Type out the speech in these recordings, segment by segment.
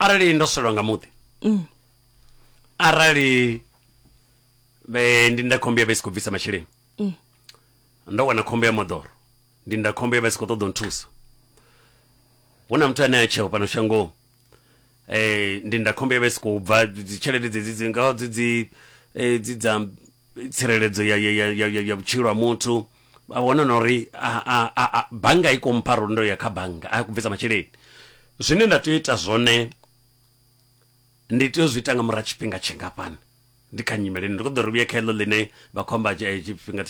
Arali ndo swelwa nga muḓi, arali vhe ndindakhombo ya vha i si khou bvisa masheleni, ndo wana khombo ya moḓoro, ndindakhombo ya vha i si khou ṱoḓa u nthusa, hu na muthu ane a tsheo fhano shangoni, ndindakhombo ya vha i si khou bva dzi tshelede dzedzi dzi ngaho dzi dzi dzi dza tsireledzo ya ya ya ya, ya vhutshilo ha muthu, vha wana na uri a bannga i khou mpha ro ndo ya kha bannga a khou bvisa masheleni. Zwine nda tea u ita zwone ndi tea u zwi ita nga murahu tshifhinga tshingafhani? Ndi kha nyimele ndi khou ḓo ri vhuye kha heḽo ḽine vha khou amba tshifhinga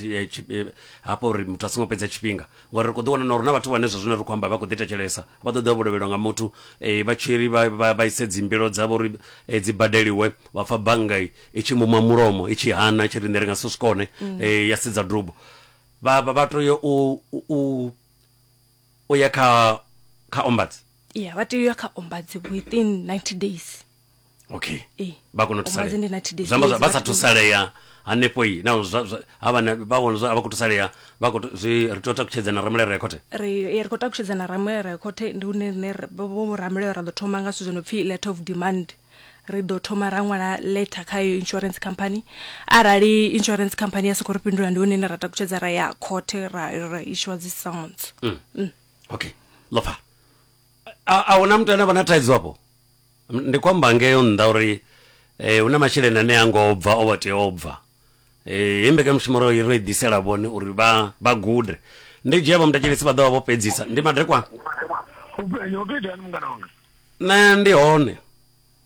hafho uri muthu a songo fhedza tshifhinga, ngori ri khou ḓi wana na uri na vhathu vhane zwa zwino ri khou amba vha khou ḓi thetshelesa vha ḓo ḓa vho lovhelwa nga muthu, vha tshi ri vha ise dzimbilo dzavho uri dzi badeliwe, vha pfa bannga i tshi muma mulomo i tshi hana i tshi ri nṋe ri nga si zwi kone, ya sedza dubo. Vha tea u u ya kha ombuds. Ya, vha tea u ya kha ombuds within 90 days. Okay. Ee. Vha kona u Ombuds thusalea. ndi 90 days. Zwi amba zwa- vha Vha sa tea u- thusalea hanefho i na zwa zwa- ha vha vha vhona zwa vha khou thusalea vha khou zwi ri tea u takutshedza na ramulayo ya khothe. Ri ri khou takutshedza na ramulayo ya khothe, ndi hune rine vho ramulayo ra ḓo thoma nga zwithu zwo no pfhi letter of demand. Ri ḓo thoma ra ṅwala letter kha iyo insurance company, arali insurance company ya soko ri fhindula ndi hune ra takutshedza ra ya khothe ra issuer dzi summons. Okay. Lofa. A huna muthu ane vha na thaidzo afho. Ndi khou amba ngeo nnḓa uri hu na masheleni ane a ngo bva o vha tea o bva. Hei mbekanyamushumo ro i ḓisela vhone uri vha gude. Ndi dzhia vho muthetshelesi vha ḓo vha vho fhedzisa. Ndi madekwana. U khou itani mungana wanga? Nṋe ndi hone.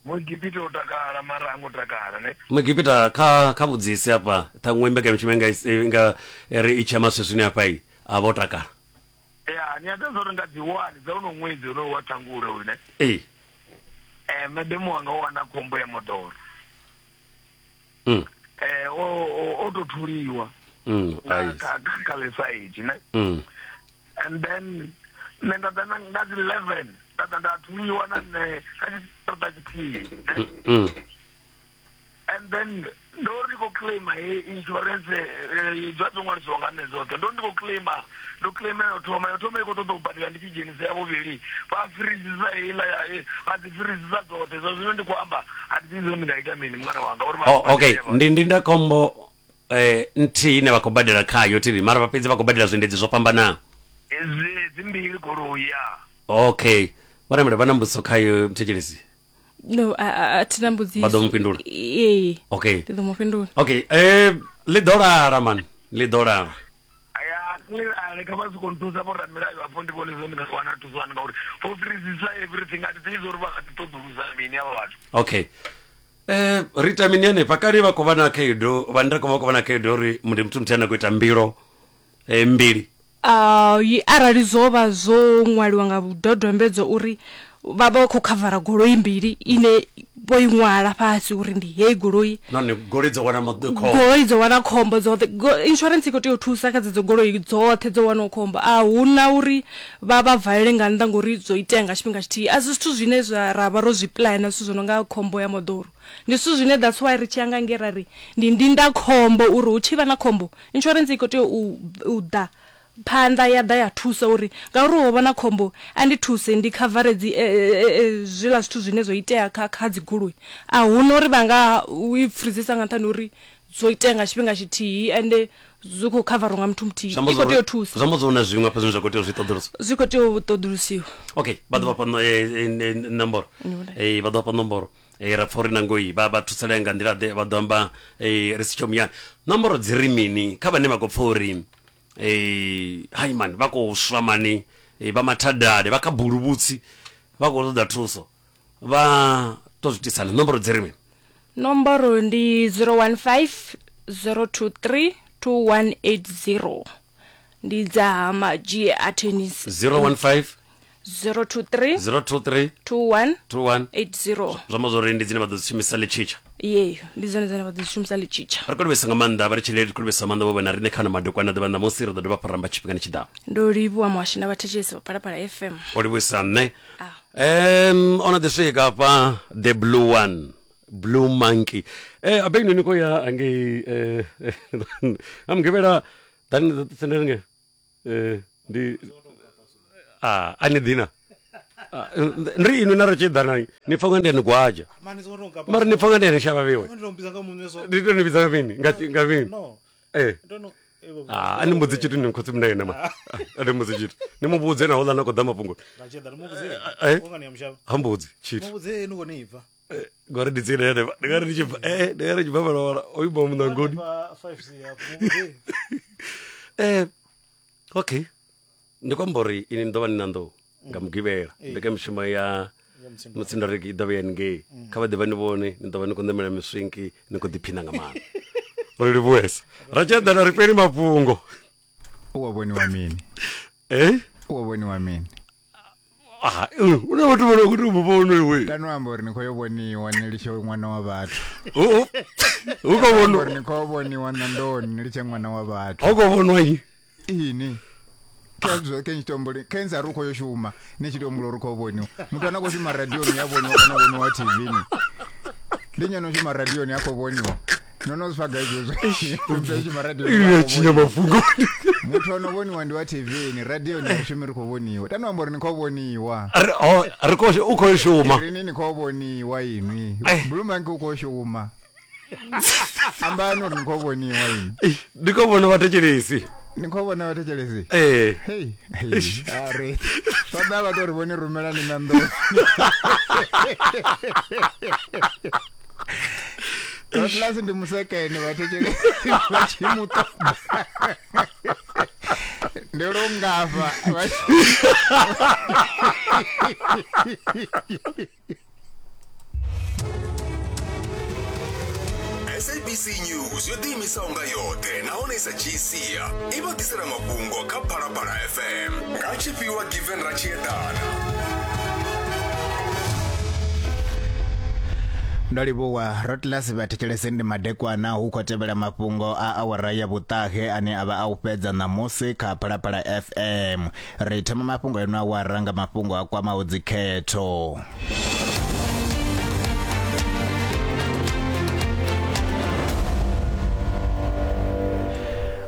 Muegipita o takala mara ha ngo takala ne. Muegipita kha kha vhudzise hafha ṱhaṅwe mbekanyamushumo i nga i nga ri i tshi ya maswiswini hafha i a vha o takala. Ya, ni a ḓivha uri nga dzi 1 dza uno ṅwedzi honoyu wa Ṱhangule uyu ne. Ee. Madam wanga o wana khombo ya moḓoro. O to thuliwa. Nga kha kha ḽisaidi ne. And then nṋe nda ḓa nga dzi 11 nda ḓa nda thuliwa na nṋe kha tshiṱaraṱa tshithihi. And then ndo ri ndi khou claima he insurance dza dzo ṅwalisiwa nga nṋe dzoṱhe, ndo ri ndi khou claima, ndo claima ya u thoma, ya u thoma i khou ṱoḓa u badela ndi tshi dzhenisa ya vhuvhili, vha firisisa heiḽa ya vha dzi firisisa dzoṱhe. Zwa zwino ndi khou amba a thi ḓivhi uri ndi nga ita mini mungana wanga uri vha Oh, okay ndi ndindakhombo nthihi ine vha khou badela khayo thiri mara vha fhedzi vha khou badela zwiendedzi zwo fhambanaho. Dzi dzimbili goloi ya. Okay vho Ramela vha na mbudziso khayo muthetshelesi? No, a thi na mbudziso. Vha ḓo mu fhindula? Ee. Okay. Ndi ḓo mu fhindula. Okay, ḽi ḓo lala man, ḽi ḓo lala. Ya, ḽi lale kha vha soko nthusa vho ramilayo afho ndi vhone zwine ndi nga wana thuso hani ngauri vho fhirisisa everything a thi ḓivhi uri vha kha ḓi ṱoḓulusa mini avha vhathu. Okay. Ri ita mini hanefha kale vha khou vha na khaedu vha nda vha khou vha na khaedu uri ndi muthu muthihi ane a khou ita mbilo mbili. Arali zwo vha zwo ṅwaliwa nga vhudodombedzo uri vha vha khou khavara goloi mbili ine vho i ṅwala fhasi uri ndi heyi goloi, nahone goloi dzo wana khombo, goloi dzo wana khombo dzoṱhe, insurance i khou tea u thusa kha dzedzo goloi dzoṱhe dzo wanaho khombo. A huna uri vha vha valele nga nnḓa ngori dzo itea nga tshifhinga tshithihi. A si zwithu zwine zwa ra vha ro zwi puḽana, zwithu zwo no nga khombo ya moḓoro ndi zwithu zwine that's why ri tshi ya nga ngei ra ri ndi ndindakhombo uri hu tshi vha na khombo insurance i khou tea u ḓa phanḓa ya ḓa ya thusa uri ngauri ho vha na khombo a ndi thuse ndi khavare dzi zwiḽa zwithu zwine zwo itea kha kha dzi goloi. A huna uri vha nga u i freezesa nga nṱhani ha uri zwo itea nga tshifhinga tshithihi ende zwi khou khavariwa nga muthu muthihi. I khou tea u thusa. Zwi amba zwa hu na zwiṅwe hafha zwine zwa khou tea u zwi ṱoḓulusa. Zwi khou tea u ṱoḓulusiwa. Okay, vha ḓo vha fha nomboro. Vha ḓo vha fha nomboro. Ra pfa uri nangoi vha thusalea nga nḓila ḓe, vha ḓo amba ri si tsho muyani. Nomboro dzi ri mini kha vhane vha khou pfa uri hai mani vha khou swa mani, vha mathadani, vha kha buluvhutsi, vha khou ṱoḓa thuso, vha to zwi itisani? Nomboro dzi ri mini? Nomboro ndi 015 023 2180, ndi dza Madzhie Attorneys. 015 023 023 21 21 80. Zwi amba zwori ndi dzine vha ḓo dzi shumisa ḽitshitsha. Ye, ndi dzone dzine vha ḓo dzi shumisa ḽitshitsha. Ri khou livhuisa nga maanḓa vha ri tshileli, ri khou livhuisa nga maanḓa vho vha na riṋe kha ano madekwana ḓuvha ṋamusi. Ri ḓo dovha hafhu ra amba tshifhingani tshiḓaho. Ndo livhuwa muhashi na vhathetshelesi vha Phalaphala FM. O livhuisa nṋe. O no ḓi swika hafha the blue one, blue monkey. Abe ni khou ya angei ha mugivhela ḓani sendela ngei. Ndi a ni ḓina. Ah, ndi inwi na ri tshi ḓana ni pfa nga ndi ni gwaja Mani songo tou nkapa. mara ni pfa nga ndi ni shavha vhiwe Ndi tou mbidza nga muṋe so. ndi to ni vhidza nga mini nga nga mini No. eh Ndo no eh, vho- Ah, a ni mbudzi tshithu ni khotsi muna ma a ni mbudzi tshithu ni mu vhudze na houḽa na khou ḓa mafhungo Nga tshi ḓa ni mu vhudze. eh. U nga ni ya mushavha. ha mbudzi tshithu Mu vhudze ni kone ibva. Eh, ngori ndi tsini henefha ndi nga ri ndi tshi bva eh ndi nga ri tshi bva fhala o ima muṋangoni Hanefha 5C hafho. Mu vhudze. eh okay ndi khou amba uri ini ni ḓo vha ni na nḓou nga mugivhela mbekanyamushumo ya Ya Mutsindo. mutsindo ri i ḓo vha ya ngei kha vha ḓe vha ni vhone ni ḓo vha ni khou ṋamela miswinki ni khou ḓiphina nga maanḓa ro livhuwesa ra tshi eḓana ri fheli mafhungo u wa vhoniwa mini eh u wa vhoniwa mini ah hu na vhathu vha no khou tou mu vhona iwe tano amba uri ni khou yo vhoniwa ni litshe ṅwana wa vhathu hu hu khou amba uri vhonwa ni khou yo vhoniwa nandoni ni litshe ṅwana wa vhathu hu khou vhonwa nnyi ini khezwo ke ntshitombo kenza ri u khou yo shuma ni tshi tombula uri u khou vhoniwa muthu ane a khou shuma radioni ya vhoniwa kana vhoniwa tvni ndi nnyi ano shuma radioni a khou vhoniwa no no zwi pfa gai zwezwo muthu a shuma radioni iwe a khou tshinya vhoniwa. mafhungoni muthu ano vhoniwa ndi wa tvni radioni a shumi ri khou vhoniwa tano amba uri ni khou vhoniwa ri oh, ri khou u khou shuma rini ni khou vhoniwa inwi Eh. blue monkey u khou shuma ambani uri ni khou vhoniwa inwi Ih, ndi khou vhona vhathetshelesi ni khou vhona vhathetshelesi ee Hey, hey, are vha ḓa vha tou ri vhone rumelani na nḓou Atlas ndi musekene vhathetshelesi vha tshi mu ṱoḓa ndi lungafha vha sabc news yo ḓiimisaho nga yoṱhe nahone i sa dzhii sia i vha ḓisela mafhungo kha phalaphala fm nga tshifhiwa given ra tshi eḓana Ndo livhuwa Rotlas vhathetshelesi ndi madekwana hu khou tevhela mafhungo a awara ya vhuṱahe ane a vha a u fhedza ṋamusi kha Phalaphala FM. Ri thoma mafhungo eno awara nga mafhungo a kwamaho dzikhetho.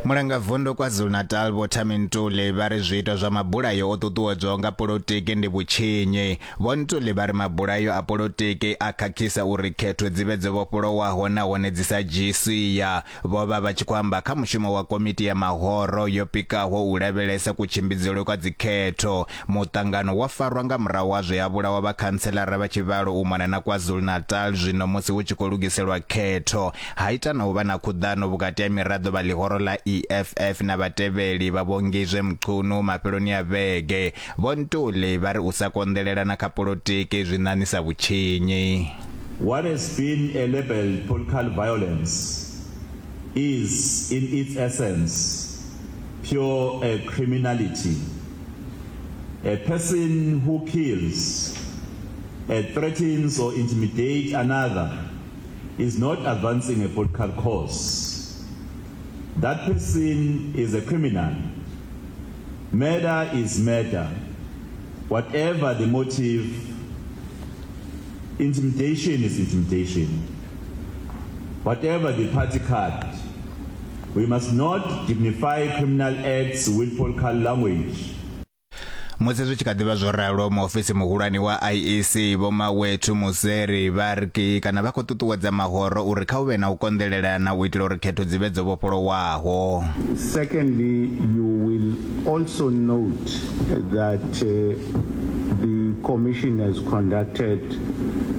Mulangavundu KwaZulu-Natal Vho Thami Ntuli vha ri zwiito zwa mabulayo o ṱuṱuwedzwaho nga polotiki ndi vhutshinyi. Vho Ntuli vha ri mabulayo a polotiki a khakhisa uri khetho dzi vhe dzo vhofholowaho nahone dzi sa dzhii sia. Vho vha vha tshi khou amba kha mushumo wa komiti ya mahoro yo pikaho u lavhelesa kutshimbidzelwe kwa dzikhetho. Muṱangano wo farwa nga murahu ha zwe ha vhulawa vhakhantselara vha tshivhalo u mona na KwaZulu-Natal zwino musi hu tshi khou lugiselwa khetho. Ha ita na u vha na khuḓano vhukati ha miraḓo vha ḽihoro ḽa EFF na vhatevheli vha Vho Ngizwe Mchunu mafheloni a vhege. Vho Ntuli vha ri u sa konḓelelana kha polotiki zwi ṋaṋisa vhutshinyi. What has been a labeled political violence is, in its essence, pure criminality. A person who kills, threatens or intimidates another is not advancing a political cause. That person is a criminal. Murder is murder. Whatever the motive, intimidation is intimidation. Whatever the party card, we must not dignify criminal acts with political language. Musi zwi tshi kha ḓivha zwo ralo, muofisi muhulwane wa IEC Vho Mawethu Mosery vha ri kana vha khou ṱuṱuwedza mahoro uri kha hu vhe na u konḓelelana u itela uri khetho dzi vhe dzo vhofholowaho. Secondly, you will also note that the Commission has conducted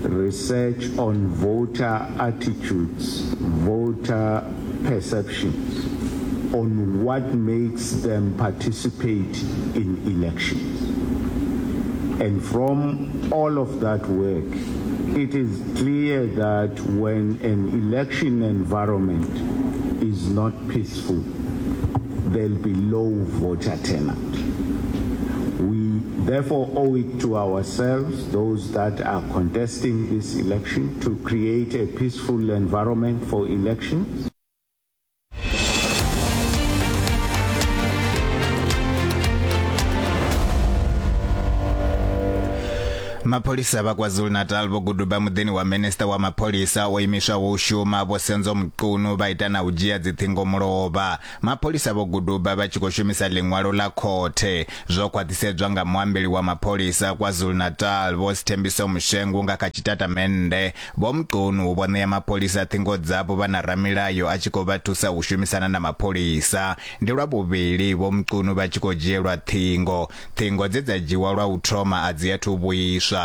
research on voter attitudes, voter perceptions, on what makes them participate in elections. And from all of that work, it is clear that when an election environment is not peaceful, there'll be low voter turnout. We therefore owe it to ourselves, those that are contesting this election, to create a peaceful environment for elections. Mapholisa vha KwaZulu-Natal vho guduba muḓini wa minista wa mapholisa o imiswaho u shuma Vho Senzo Mchunu vha ita na u dzhia dziṱhingo mulovha. Mapholisa vho guduba vha tshi khou shumisa ḽiṅwalo ḽa khothe. Zwo khwaṱhisedzwa nga muambeli wa mapholisa KwaZulu-Natal Vho Sthembiso Mshengu nga kha tshitatamennde. Vho Mchunu vho ṋea mapholisa ṱhingo dzavho vha na ramilayo a tshi khou vha thusa u shumisana na mapholisa. Ndi lwa vhuvhili Vho Mchunu vha tshi khou dzhielwa ṱhingo. Ṱhingo dze dza dzhiwa lwa u thoma a dzi athu vhuiswa.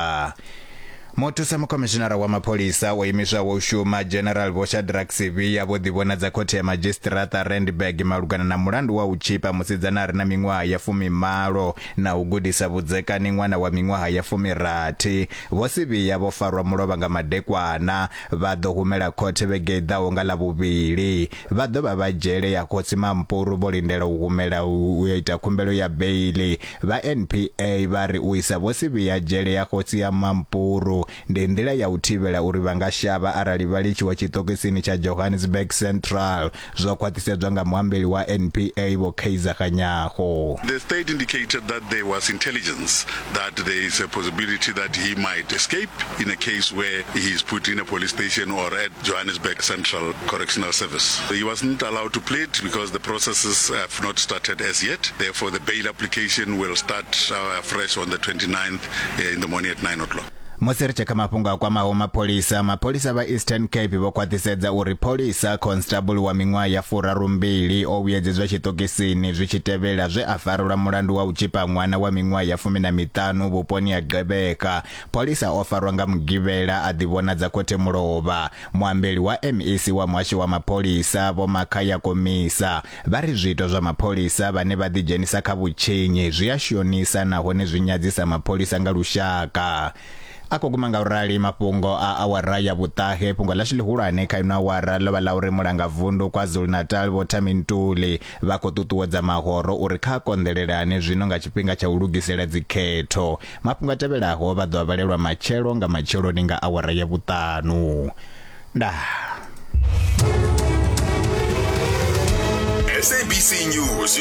Muthusa mukhomishinara wa mapholisa o imiswaho u shuma General Vho Shadrack Sibiya vho ḓivhonadza khothe ya madzhisiṱiraṱa Randburg malugana na mulandu wa u tzhipa musidzana a re na miṅwaha ya fumimalo na u gudisa vhudzekani ṅwana wa miṅwaha ya fumirathi. Vho Sibiya vho farwa mulovha nga madekwana, vha ḓo humela khothe vhege i ḓaho nga Ḽavhuvhili. Vha ḓo vha vha dzhele ya Kgosi Mampuru vho lindela u humela u yo ita khumbelo ya beiḽi. Vha NPA vha ri u isa Vho Sibiya dzhele ya Kgosi ya Mampuru ndi nḓila ya u thivhela uri vha nga shavha arali vha litshiwa tshiṱokisini tsha Johannesburg Central. Zwo khwaṱhisedzwa nga muambeli wa NPA Vho Kaizer Kganyago. The state indicated that there was intelligence that there is a possibility that he might escape in a case where he is put in a police station or at Johannesburg Central Correctional Service. He wasn't allowed to plead because the processes have not started as yet. Therefore, the bail application will start uh, afresh on the 29th uh, in the morning at 9 o'clock. Musi ri tshe kha mafhungo a kwamaho mapholisa, mapholisa vha Eastern Cape vho khwaṱhisedza uri pholisa constable wa miṅwaha ya furarumbili o vhuyedzedzwa tshiṱokisini zwi tshi tevhela zwe a farelwa mulandu wa u tzhipa ṅwana wa miṅwaha ya fumi na miṱanu vhuponi ha Gqeberha. Pholisa o farwa nga Mugivhela a ḓivhonadza khothe mulovha. Muambeli wa MEC wa muhasho wa mapholisa Vho Makhaya Komisa vha ri zwiito zwa mapholisa vhane vha ḓidzhenisa kha vhutshinyi zwi a shonisa nahone zwi nyadzisa mapholisa nga lushaka. A khou guma nga u rali mafhungo a awara ya vhuṱahe. Fhungo ḽashu ḽihulwane kha ino awara ḽo vha ḽa uri mulangavundu KwaZulu-Natal Vho Thami Ntuli vha khou ṱuṱuwedza mahoro uri kha a konḓelelane zwino nga tshifhinga tsha u lugisela dzikhetho. Mafhungo a tevhelaho vha ḓo a vhalelwa matshelo nga matsheloni nga awara ya vhuṱanu. Ndaa. SABC News.